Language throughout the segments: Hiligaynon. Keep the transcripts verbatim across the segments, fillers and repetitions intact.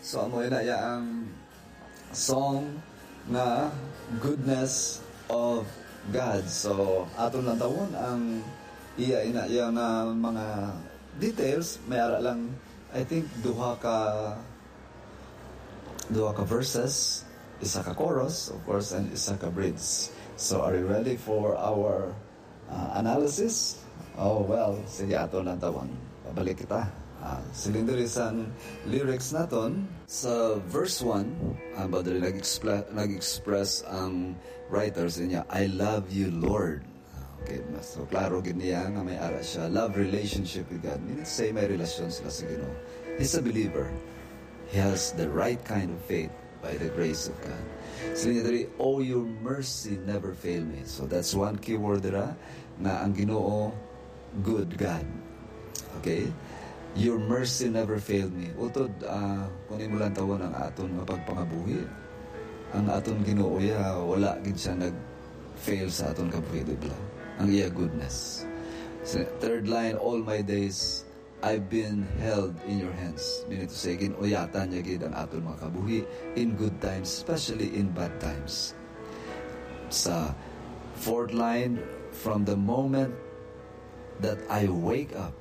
So, amo ina iya ang song nga Goodness of God. So, aton lang tawon ang iya ina iya nga mga details. May ara lang, I think, duha ka, duha ka verses, isa ka chorus, of course, and isa ka bridge. So, are you ready for our uh, analysis? Oh, well, sige, ato lang tawon. Pabalik kita. Uh, siling diri sang lyrics naton, sa verse one, ang ba diri nag-expla-, nag-express ang writer sa niya, "I love you, Lord." Okay, mas so, klaro gid niya nga may ara siya. Love relationship with God. Meaning to say, may relasyon sila sa Ginoo. He's a believer. He has the right kind of faith by the grace of God. Siling niya diri, "Oh, your mercy never fail me." So that's one key word dira, nga ang Ginoo, good God. Okay? "Your mercy never failed me." Utod, ah, kung imo lang tawon ang aton nga pagpangabuhi, ang aton Ginoo, ya, wala gid siya nag-fail sa aton kabuhi, di ba? Ang iya goodness. Sa third line, "All my days, I've been held in your hands." Meaning to say, gin-uyatan niya gid ang aton mga kabuhi in good times, especially in bad times. Sa fourth line, "From the moment that I wake up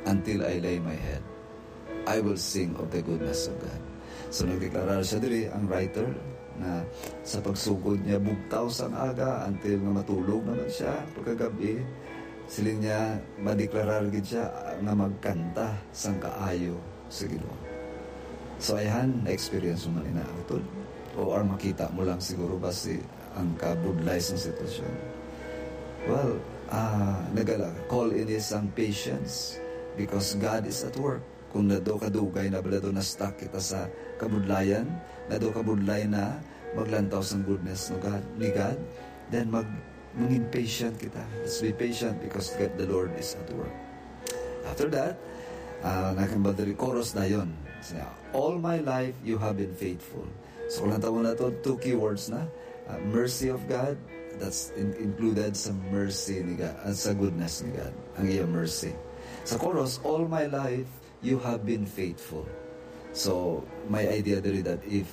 until I lay my head, I will sing of the goodness of God." So, nagdeklarar siya diri, ang writer, na sa pagsugod niya bugtaw sang aga until nga matulog naman siya pagkagabi, siling niya, madeklarar gid siya nga magkanta sang kaayo sa Ginoo. So, ayhan, na-experience mo man ina, utod? O, or makita mo lang siguro ba si ang kabudlay sang sitwasyon? Well, ah, nagala, call ini sang patience because God is at work. Kung nado kadugay na bala daw na-stuck kita sa kabudlayan, nado kabudlay na maglantaw sang goodness no God, ni God, then mag mangin patient kita. Let's be patient because God, the Lord is at work. After that, uh, nakambadali chorus dayon. Siya, "All my life you have been faithful." So, kung lang tawon na to, two keywords na. Uh, mercy of God, that's in- included sa mercy ni God, uh, sa goodness ni God, ang iya mercy. Sa chorus, "All my life, you have been faithful." So, may idea diri that if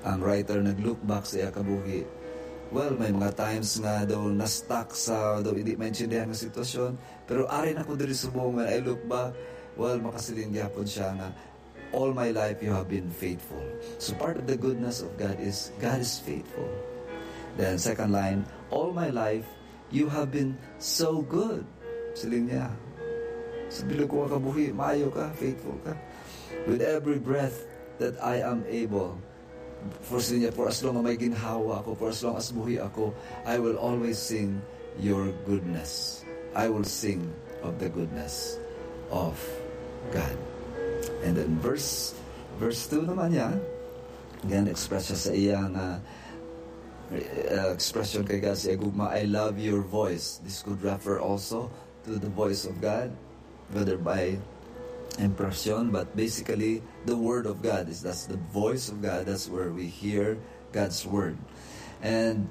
ang writer nag-look back sa iya kabuhi, well, may mga times nga daw na-stuck sa daw hindi maintindihan nga sitwasyon, pero ari na ko diri subong, when I look back, well, makasiling gyapon siya nga, "All my life you have been faithful." So part of the goodness of God is God is faithful. Then second line, "All my life you have been so good." Siling niya, "Sa bilog ko nga kabuhi, maayo ka, faithful ka. With every breath that I am able," for siling niya, "For as long as may ginhawa ako, for as long as buhi ako, I will always sing your goodness. I will sing of the goodness of God." And then verse verse two naman niya, again, express siya sa iya nga, uh, expression kay God sa iya gugma, "I love your voice." This could refer also to the voice of God, whether by impression, but basically the word of God is, that's the voice of God. That's where we hear God's word. And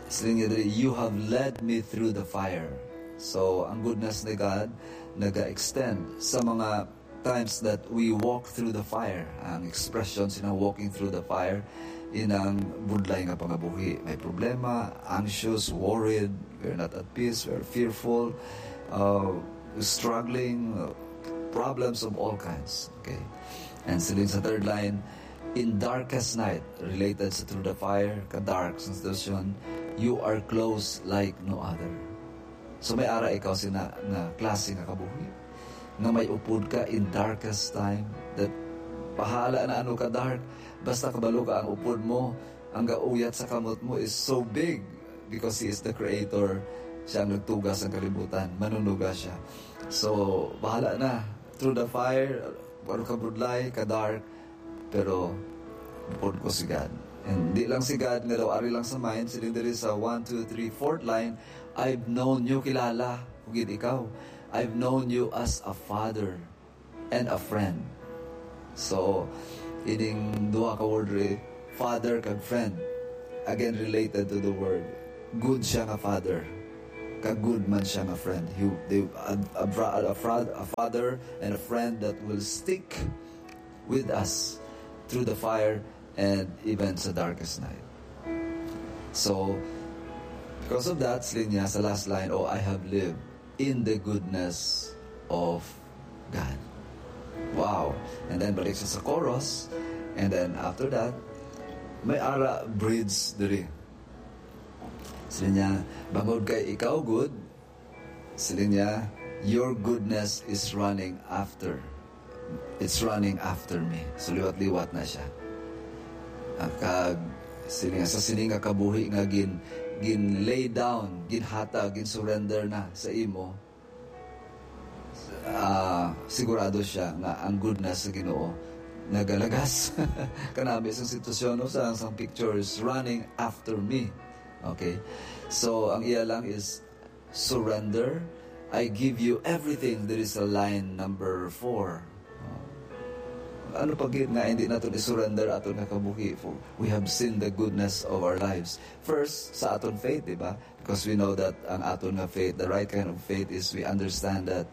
siling niya diri, "You have led me through the fire." So, ang goodness ni God naga-extend sa mga times that we walk through the fire. Ang expression sina "walking through the fire" inang budlay nga pangabuhi. May problema, anxious, worried, we're not at peace, we're fearful, uh, struggling, uh, problems of all kinds. Okay? And siling sa third line, "In darkest night," related sa through the fire, ka-dark sa sitwasyon, "you are close like no other." So may ara ikaw sina nga klase nga kabuhi, nga may upod ka in darkest time, that bahala na ano ka dark, basta kabalo ka ang upod mo, ang gauyat sa kamot mo is so big because He is the creator. Siya ang nagtuga sa kalibutan, manunuga siya. So, bahala na. Through the fire, ano ka budlay, ka dark, pero upod ko si God. And di lang si God nga daw ari lang sa mind, siling diri sa one, two, three, fourth line, "I've known you," kilala ko gid ikaw. "I've known you as a father and a friend." So, ining duha ka word diri, father kag friend, again related to the word. Good siya nga father, kag good man siya nga friend. He, they, a, a, bra- a, fra- a father and a friend that will stick with us through the fire, and even sa darkest night. So, because of that, siling niya sa last line, "Oh, I have lived in the goodness of God." Wow. And then balik siya sa chorus. And then after that, may ara bridge diri. Siling niya, "Bangod kay ikaw good," siling niya, "your goodness is running after. It's running after me." So liwat-liwat na siya. Ah, kag siling niya, sa sining nga kabuhi nga gin, gin lay down, ginhatag, gin surrender na sa imo, ah, sigurado siya nga ang goodness sa Ginoo nagalagas. Kanami sang sitwasyon, no, sa, sang picture is running after me. Okay? So, ang iya lang is surrender. "I give you everything." There is a line number four. Oh. Ano pa gid nga hindi naton i-surrender aton nga kabuhi? For we have seen the goodness of our lives. First, sa aton faith, di ba? Because we know that ang aton nga faith, the right kind of faith, is we understand that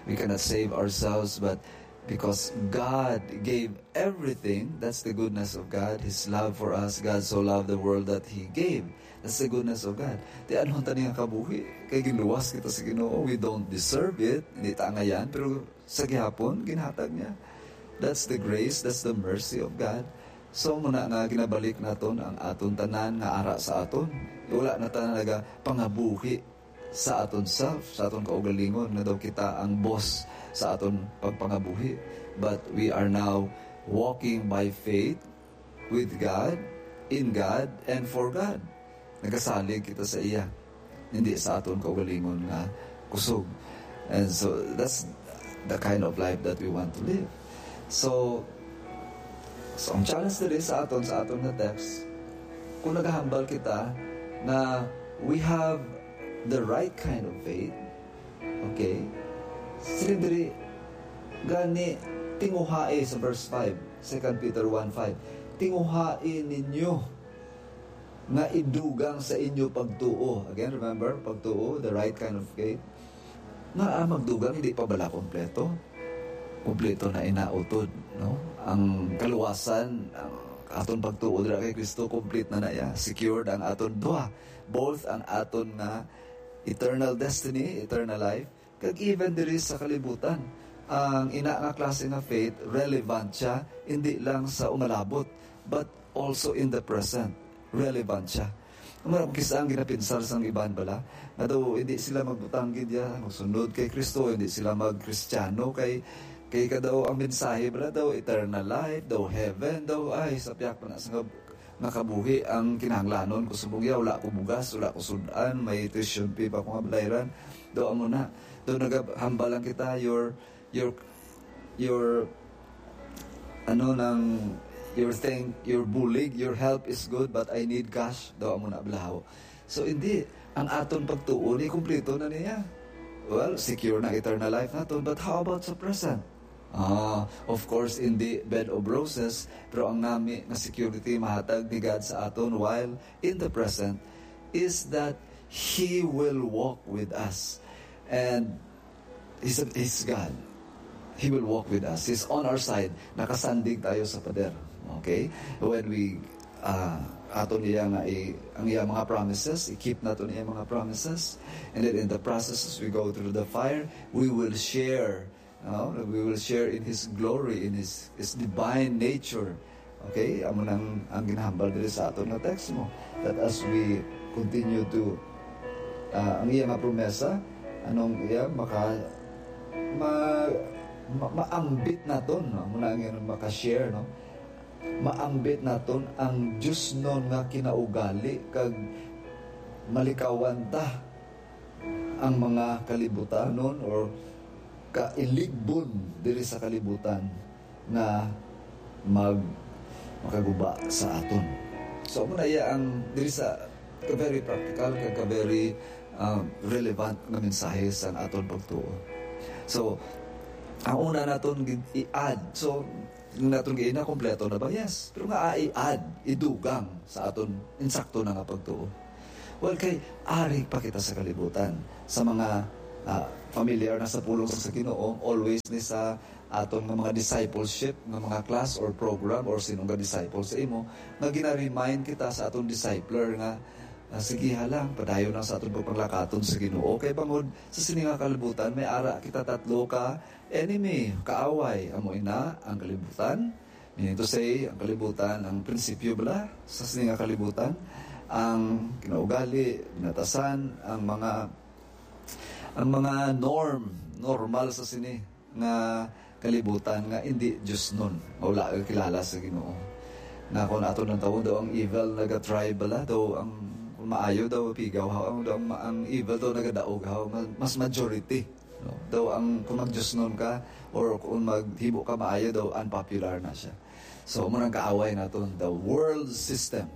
we cannot save ourselves, but because God gave everything, that's the goodness of God, His love for us. God so loved the world that He gave. That's the goodness of God. Di ano ta niya kabuhi? Kay ginluwas kita sa Ginoo. We don't deserve it. Hindi ta angayan, pero sa gihapon, ginhatag niya. That's the grace, that's the mercy of God. So, muna nga ginabalik naton ang aton tanan nga ara sa aton. Wala na ta nagapangabuhi sa aton self, sa aton kaugalingon, nga daw kita ang boss sa aton pagpangabuhi. But we are now walking by faith with God, in God, and for God. Nagasalig kita sa iya, hindi sa aton kaugalingon nga kusog. And so, that's the kind of life that we want to live. So, so ang challenge diri sa aton, sa aton nga text, kung nagahambal kita nga we have the right kind of faith, okay? Siling diri, gani, tinguhai sa verse five, Second Peter one five, "Tinguhai ninyo nga idugang sa inyo pagtuo." Again, remember, pagtuo, the right kind of faith. Nga, ah, magdugang, hindi pa bala kompleto? Kompleto na inautod, no? Ang kaluwasan, ang aton pagtuo dira kay Kristo, complete na na iya. Secured ang aton duha. Both ang aton nga eternal destiny, eternal life, kag even diri sa kalibutan. Ang ina nga klase nga faith, relevant siya, hindi lang sa umalabot, but also in the present. Relevant siya. Mura, kis-a ang ginapinsar sang iban bala, nga daw hindi sila magbutang gid ya, magsunod kay Kristo, hindi sila magkristiyano, kay, kay ka daw ang mensahe bala daw eternal life, daw heaven, daw, ay, sapyak pa na sa nga kabuhi ang kinahanglanon ko subong ya, wala ko bugas, wala ko sud-an, may tuition fee pa ko nga balayran. Daw amo na. Daw nagahambal lang kita, your, your, your, ano nang, your thing, your bulig, your help is good, but I need cash. Daw amo na, blaho. So, hindi. Ang aton pagtuo ni, kumplito na niya. Well, secure na eternal life naton, but how about sa present? Ah, of course, hindi bed of roses, pero ang nami nga security mahatag ni God sa aton while in the present is that He will walk with us. And He's, He's God. He will walk with us. He's on our side. Nakasandig tayo sa pader. Okay? When we, ah, aton niya nga i-, ang iya mga promises, i-keep nato niya mga promises. And then in the process, as we go through the fire, we will share, no? We will share in His glory, in His, His divine nature. Okay? Amo nang ang ginahambal diri sa aton nga text mo. That as we continue to, ah, ang iya nga promesa, anong iya, maka-, ma-, ma-, maambit naton, no? Amo na ang iya maka-share, no? Maambit naton ang diosnon nga kinaugali kag malikawan ta ang mga kalibutanon or kailigpon diri sa kalibutan nga mag-, makaguba sa aton. So, amo na iya ang diri sa ka very practical, ka, ka very, um, relevant nga mensahe sa aton pagtuo. So, ang una naton gid i-add. So, naton giina, kompleto na ba? Yes. Pero nga, ah, i-add, idugang sa aton insakto na nga pagtuo. Well, kay ari pa kita sa kalibutan. Sa mga, ah, familiar na sa pulong sa Ginoo, always ni sa, aton nga mga discipleship, nga mga class or program, or sino nga disciple sa imo, nga gina-remind kita sa aton discipler nga, ah, sige, ha lang, padayon lang sa aton pagpanglakaton sa Ginoo. Kay bangod sa sini nga kalibutan, may ara kita tatlo ka enemy, kaaway. Amo ina ang kalibutan. Meaning to say, ang kalibutan, ang prinsipyo bala sa sini nga kalibutan, ang kinaugali, binatasan, ang mga, ang mga norm, normal sa sini nga kalibutan nga hindi diosnon, nga wala ka kilala sa Ginoo. Nga kung aton lang tawon daw ang evil naga-thrive bala, daw ang, kung maayo daw pigaw, ang, daw ang, ang evil daw nagadaog, ha, mas, mas majority, no? Daw ang, kung magdiosnon ka or kung maghimo ka maayo, daw unpopular na siya. So, mo nang kaaway naton, the world system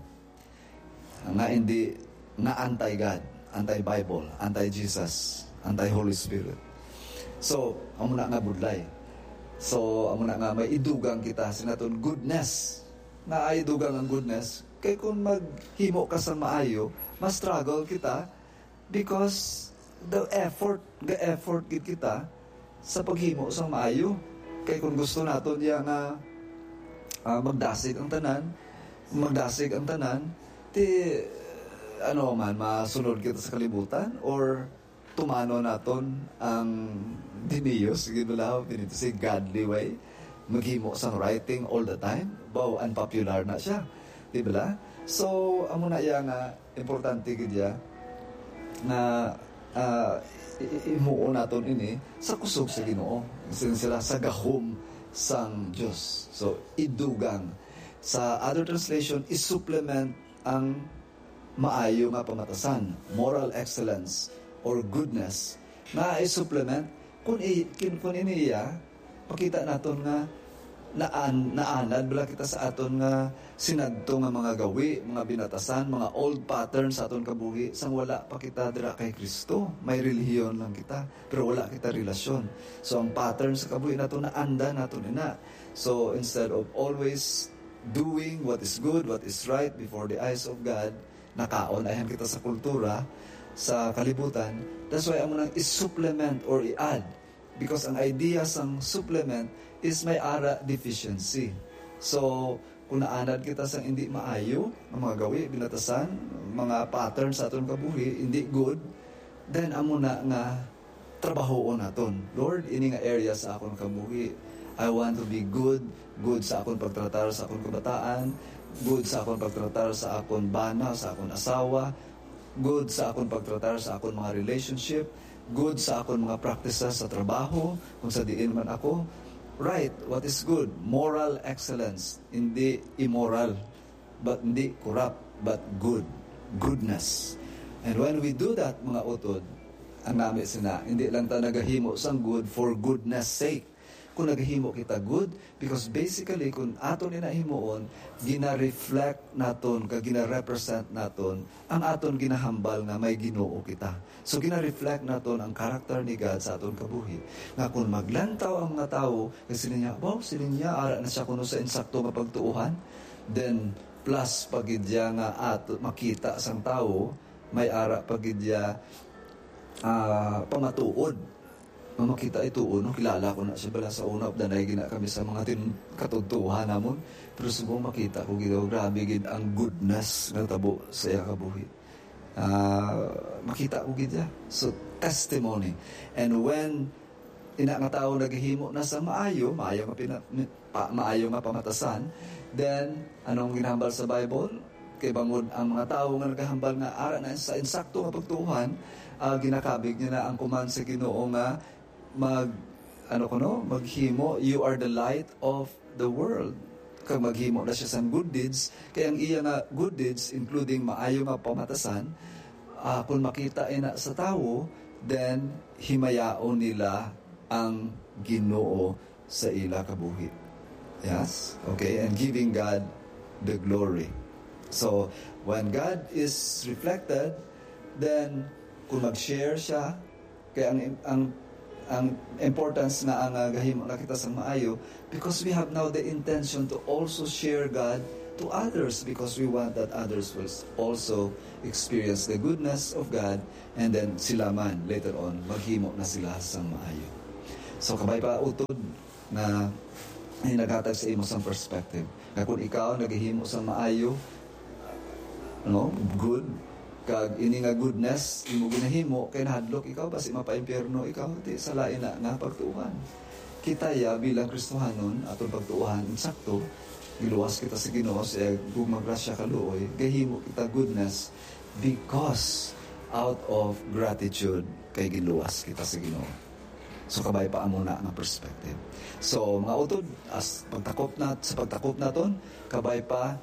nga hindi, nga anti-God, anti-Bible, anti-Jesus, anti-Holy Spirit. So, amo na nga budlay. So, amo na nga may idugang kita sa naton goodness. Nga ay dugang ang goodness, kay kung maghimo ka sa maayo, mas struggle kita because the effort, the effort gid kita sa paghimo sang maayo. Kay kung gusto naton iya nga, ah, magdasig ang tanan, magdasig ang tanan, ti, ano man, masunod kita sa kalibutan, or tumano naton ang demonios, gid bala, pinito si godly way, maghimo sang right thing all the time, baw, unpopular na siya. Di bala? So, amo na iya nga importante gid ya nga, ah, i-, i-, imuon naton ini sa kusog sa Ginoo. Sin sila sa gahom sang Dios. So, idugang. Sa other translation, isupplement ang maayo nga pamatasan, moral excellence, or goodness, nga isupplement kun i-, kun, kun ini iya, pakita naton nga naan-, naanad bala kita sa aton nga sinadto nga mga gawi, mga binatasan, mga old patterns sa aton kabuhi, sang wala pa kita dira kay Kristo. May relihiyon lang kita, pero wala kita relasyon. So, ang pattern sa kabuhi naton, naanda naton ina. So, instead of always doing what is good, what is right before the eyes of God, nakaon ayhan kita sa kultura, sa kalibutan. That's why amo nang i-supplement or i-add. Because ang idea sang supplement is may ara deficiency. So, kung naanad kita sang hindi maayo nga mga gawi, binatasan, mga pattern sa aton kabuhi, hindi good, then amo na nga trabahoon naton. Lord, ini nga area sa akon kabuhi, I want to be good, good sa akon pagtratar sa akon kabataan, good sa akon pagtratar sa akon bana, sa akon asawa, good sa akon pagtratar sa akon mga relationship, good sa akon mga practices sa trabaho, kung sa diin man ako. Right, what is good? Moral excellence, hindi immoral, but hindi corrupt, but good. Goodness. And when we do that, mga utod, ang nami sina, hindi lang ta nagahimo sang good for goodness sake. Kung nagahimo kita good, because basically, kung aton ina himuon, gina-reflect naton, kag gina-represent naton ang aton ginahambal nga may Ginoo kita. So, gina-reflect naton ang character ni God sa aton kabuhi. Nga kung maglantaw ang mga tawo, kag sila niya, "Wow, sila niya, ara na siya kuno sa insakto nga pagtuohan." Then, plus pa gid niya nga ato makita sang tawo, may ara pa gid niya, ah, pamatuod. Nga makita ito, no? Kilala ko na siya bala sa una, danay gina kami sa mga tin-, katudtuhan namon. Pero subong makita ko gid, oh, grabe gid ang goodness nga tabo sa iya kabuhi. Ah, makita ko gid siya. So, testimony. And when ina nga tawo naghimo na sa maayo, maayo nga pina-, pa, maayo nga pamatasan, then, anong ginahambal sa Bible? Kay bangod ang mga tawo nga nagahambal nga ara na sa insakto nga pagtuohan, ah, ginakabig niya na ang kuman sa Ginoo nga mag, ano kuno, maghimo, "You are the light of the world." Kag maghimo na siya sang good deeds, kay ang iya nga good deeds, including maayo nga pamatasan, ah, kung makita ina sa tawo, then himayaon nila ang Ginoo sa ila kabuhi. Yes? Okay? And giving God the glory. So, when God is reflected, then kung mag-share siya, kay ang, ang, ang importance nga ang, ah, gahimo na kita sa maayo, because we have now the intention to also share God to others, because we want that others will s-, also experience the goodness of God, and then sila man, later on, maghimo na sila sa maayo. So, kabay pa, utod, nga naghatag sa imo sang perspective. Nga kung ikaw nagahimo sang maayo, no, good, kag ini nga goodness imo ginahimo kay nahadlok ikaw, basi mapaimpyerno ikaw, ti sa lain na nga pagtuohan. Kita ya bilang Kristohanon, atong pagtuohan, insakto, giluwas kita sa Ginoo sa iyang gugma, grasya, kaluoy, gahimo kita goodness because out of gratitude kay ginluwas kita sa Ginoo. So, kabay pa amo na nga perspective. So, mga utod, as pagtakop na, sa pagtakop naton, kabay pa,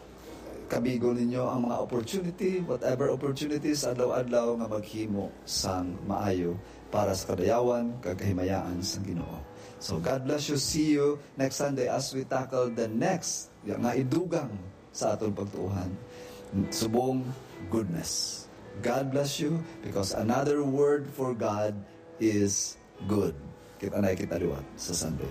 kabigon ninyo ang mga opportunity, whatever opportunities, adlaw-adlaw nga maghimo sang maayo para sa kadayawan kag kahimayaan sang Ginoo. So, God bless you. See you next Sunday as we tackle the next nga idugang sa aton pagtuohan. Subong goodness. God bless you, because another word for God is good. Kita na kita liwat sa Sunday.